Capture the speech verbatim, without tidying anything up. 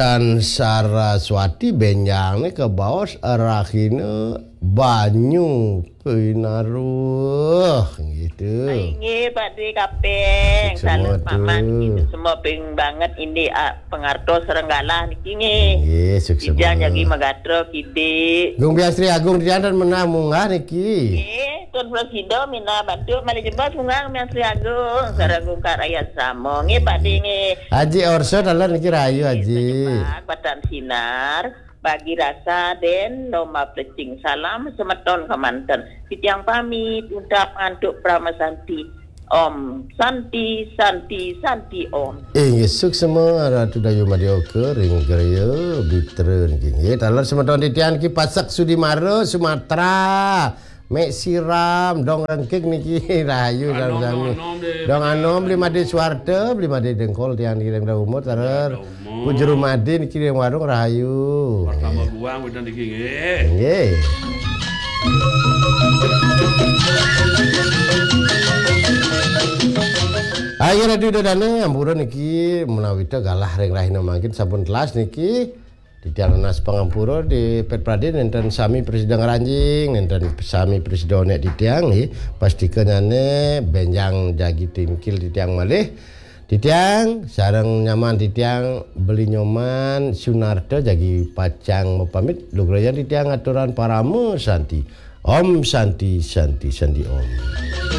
Dan Saraswati benjang ni ke baos rahina banyu pinaruh gitu. Ai, nggih, Pak Dé Kapeng. Sukses semua. Salam Paman tu. Gitu semua ping banget ini, ah, pengartos renggala niki nggih. Nggih, sukses semua. Ijang jagi magatra kidik. Gung Biang Sri Agung Tian dan menah munggah niki. Nggih, Tun Prasida minah bantu malih jebos munggah Gung Biang Sri Agung. Sareng Gung Kak Rayat Samo. Nggih, Pak Dé nggih. Haji Orso taler niki rahayu, Haji. Sejemak Batan Sinar, Bagi Rasa, dan Lomba Plecing. Salam semeton kemanten. Titiang pamit, ucap ngantuk Parama Santi. Om Santi, Santi, Santi Om. Inggih, suksma Ratu Dayu Madya Oka ring Gereja Bitra niki. Nggih, taler semeton titiang niki Pasak Sudimara, Sumatera. Mek Siram, Dong Rengking niki rahayu sami-sami. Dong Anom, Bli Madé Suarta, Bli Madé Dengkol tiang niki ring umur taler. Pu Juru Madé niki ring warung rahayu. Pertama guang wénten niki nggih. Nggih. Ayo Ratu Ida Dané, ampura niki menawi ta galah ring rahina mangkin sampun telas niki. Titiang nunas pangampura di Pet Pradé nénten sami prasida ngranjing, nénten sami prasida onék titiang nggih. Pastika nyané bénjang jagi tungkil titiang malih. Titiang sareng nyaman titiang Beli Nyoman Sunarta jagi pacang mapamit. Lugrayang titiang aturang Parama Santi. Om Santi, Santi, Santi Om.